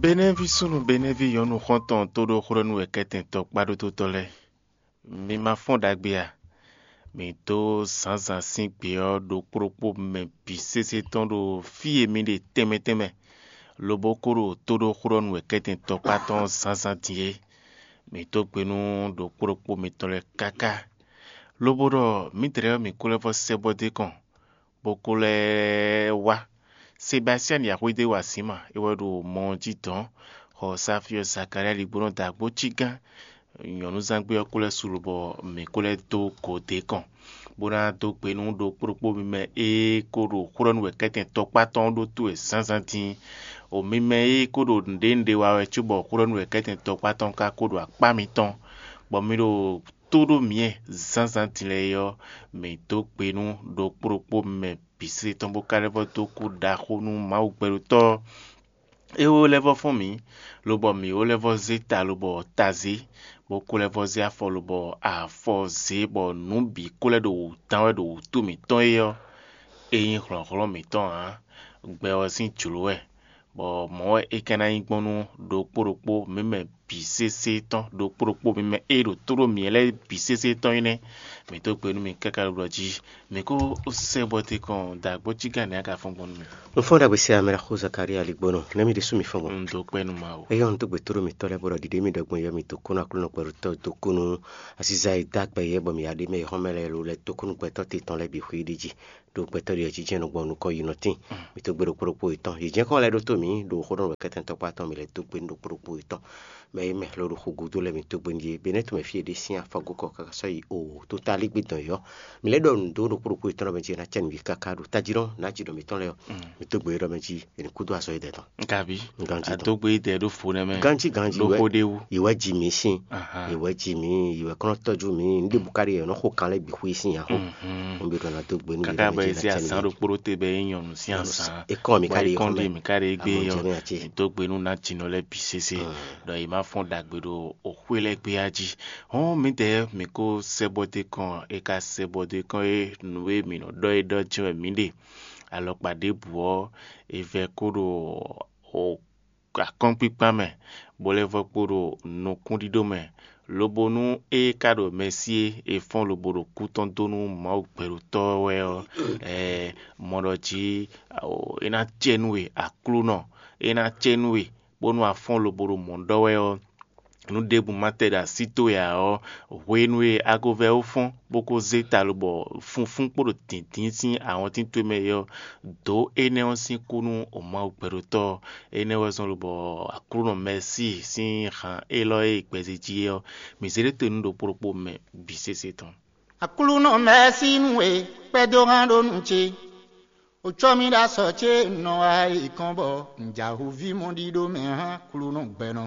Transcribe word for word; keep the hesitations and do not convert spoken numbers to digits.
Benɛ́ví súnnu Benɛ́ví nyɔ̌nu xɔ́ntɔn tóɖóxwlɔ́nú wɛ kɛ́tɛn tɔkpá ɖótó tɔn lɛ́ɛ, mi ma fɔ́n ɖagbe a? Mǐ dó zǎnzǎn sín gbě ɔ́ ɖokpó ɖokpó mɛ bǐ sésé tɔn ɖo fí e mi ɖe tɛnmɛ tɛnmɛ, lobo ko ɖo tóɖóxwlɔ́nú wɛ kɛ́tɛn tɔkpá tɔn zǎnzǎn din é. Mǐ dó gbe nú ɖokpó ɖokpó mitɔn lɛ́ɛ káká, lobo ɖɔ mǐdɛɛ ɔ́ mǐ ko lɛ́ vɔ́ sɛ́ bɔ dó kɔn, bó ko lɛ́ wá. Sebastiani Axwédéwasíma é wɛ ɖo mɔ ɔ́ jí dɔ̌n, xɔ Safiɔ Zakalía ligbónɔ dó agbócí gán. Nyɔ̌núzángbé ɔ́ ko lɛ́ su lobɔ mǐ ko lɛ́ dó gǒ dó kɔn, bó ná dó gbe nú ɖokpó ɖokpó mi mɛ e ko ɖo xwlɔ́nú wɛ kɛ́tɛn tɔkpá tɔn ɔ́ ɖótó wɛ zǎnzǎn din. O mi mɛ e ko ɖo nǔɖé nǔɖé wa wɛ cóbɔ xwlɔ́nú wɛ kɛ́tɛn tɔkpá tɔn ka ko ɖo akpá mitɔn, bɔ mi ɖo tó ɖó myɛ zǎnzǎn din lɛ́ɛ é ɔ́, mǐ dó gbe nú ɖokpó ɖokpó mɛ bǐ sésé tɔn bó ka lɛ́ vɔ́ dó kú ɖaxó nú Mawu gbɛɖótɔ́ ɔ́. É wú lɛ́ vɔ́ fɔ́n mǐ, lobɔ mǐ wú lɛ́ vɔ́ zé ta lobɔ ta zě, bó kú lɛ́ vɔ́ zé afɔ lobɔ afɔ zě, bɔ nǔ bǐ kú lɛ́ ɖo wǔ dán wɛ ɖo wǔtu mǐtɔn é ɔ́, é nyí hlɔ̌nhlɔ́n mǐtɔn ǎ. Gbɛ ɔ́ sín jlǒ wɛ, bɔ mɔ̌ wɛ é ka ná nyí gbɔn nú ɖokpó ɖokpó mǐ mɛ bǐ sésé tɔn, ɖokpó ɖokpó mǐ mɛ e ɖo tóɖó mǐ lɛ́ɛ bǐ sésé tɔn é nɛ́. Mǐ dó gbe nú mi káká ɖo ɖɔ jí, mǐ kó sɛ́ bɔ te kɔn da gbɔ́ cí gǎn nɛ́ a ka fɔ́n gbɔn nú mì. Un fɔ́n ɖagbe se amɛ xó Zakaria ligbónɔ, nɛ́ mi ɖésú mi fɔ́n gbɔn. Un dó kpɛ́ nú Mawu. Eyɔ́ un dó gbe tóɖó mitɔ́ lɛ́ɛ bó ɖɔ ɖiɖe mi ɖɔ gbɔn yɔ mi dó kú nú Aklúnɔ gbɛɖótɔ́ dó kú nú asíza e dó agbɛ yɛ bɔ mǐ ya ɖe mɛ yɔ̌xɔ́n mɛ lɛ́ɛ lo lɛ́ dó kú nú gbɛtɔ́ te tɔn lɛ́ɛ bǐ xwé ɖi jí. Ɖo gbɛtɔ́ ɖi ɛ jínjɛ́n nɔ gbɔn nukɔn yi nɔ tíin. Mǐ tó gbe ɖokpó ɖokpó yětɔn. Yě jɛ́n kɔn lɛ́ ɖótó mǐ ɖo xó ɖɔ kɛ́tɛ́ntɔ́kpá tɔn mǐ lɛ́ dó gbe nú ɖokpó ɖokpó yětɔn. Mɛ e mɛ hlo ɖo xu gúdo lɛ́ɛ mǐ tó gbe nú yě. Benɛ́ tɔn mɛ fí e ɖe sín afɔgókɔ káká sɔ́ yi o tó tá lígbí dɔn yɔ́. Mǐ lɛ́ ɖɔ nǔ dó ɖokpó ɖokpó yětɔn ɖɔ mɛ jí è nǎ cɛ nǔ yi káká ɖo tají nɔ nǎ jí ɖɔ mǐtɔn lɛ́ɛ ɔ́. Mǐ tó gbe ɖɔ mɛ jí è ní kúdó azɔ̌ yědɛɛ tɔn. Gabi, Ganji tɔn. Adógbe yídɛ ɖó fo nɛ́ mɛ. Ganji ganji Ɖó wɛ. Xó ɖé wú. Ìwɛ ji mǐ sín. Ahan. Ìwɛ ji mǐ, ìwɛ kɔn nɔ tɔ́jú mǐ, ní ɖěbǔ káɖí yě nɔ xo kan lɛ́ɛ bǐ xwé sín nya xó. Mhm. Un ɖo ɖɔ ná dó gbe nú Káká bɔ yě zé azǎn ɖokpó ɖó te bɛ é nyɔnu sín azǎn. Ekɔn mi Bɔ káɖí ekɔn ɖi mi káɖí gbé yɔ. Dó gbe nú ná jinɔ lɛ́ɛ bǐ sésé. Ɖɔ yě má fɔ́n ɖagbe ɖo òxwé lɛ́ɛ gbé á jí. Hɔn mǐdɛɛ mǐ kó sɛ́bɔdé kɔn, è ka sɛ́bɔdé kɔn é nǔ e mǐ nɔ ɖɔ é ɖɔ jɛ́n wɛ mǐ ɖe. Alɔkpa ɖěbǔ ɔ́, è vɛ kó ɖo akɔ́nkpíkpá mɛ, bó lɛ́ vɔ́ kpo ɖo nukúnɖíɖó mɛ, lobo nú é ka ɖo Mɛsí e è fɔ́n lobo ɖo kú tɔn dó nú Mawu gbɛɖotɔ́ wɛ ɔ́, ɛɛ, mɔ ɖɔ jí é ná cɛ nú we, Aklúnɔ, é ná cɛ nú we, bónú a fɔ́n lobo ɖo mɔ̌ ɖɔ wɛ ɔ́, nǔ ɖěbǔ ma tɛ ɖo así towe ǎ ɔ́, hwenu e a ko vɛ́ ó fɔ́n, bó ko zé ta lobɔ funfún kpo ɖo dǐndín sín awɔntín towe mɛ é ɔ́, dǒ énɛ́ ɔ́ sín kú nú Mawu gbɛɖotɔ́ ɔ́. Énɛ́ wɛ zɔ́n lobɔ Aklúnɔ Mɛsíi sín han élɔ́ e è gbɛzé jí é ɔ́, mǐ zé ɖó te nú ɖokpó ɖokpó mɛ bǐ sésé tɔn. Aklúnɔ Mɛsíi nú we kpɛ́dó hán ɖó nú ce. Wǒ cɔ́ mì ɖó asɔ ce nɔ wá yi kɔn bɔ un jɛ ahɔ̌ví mɔ ɖíɖó mɛ hán Aklúnɔ gbɛnɔ.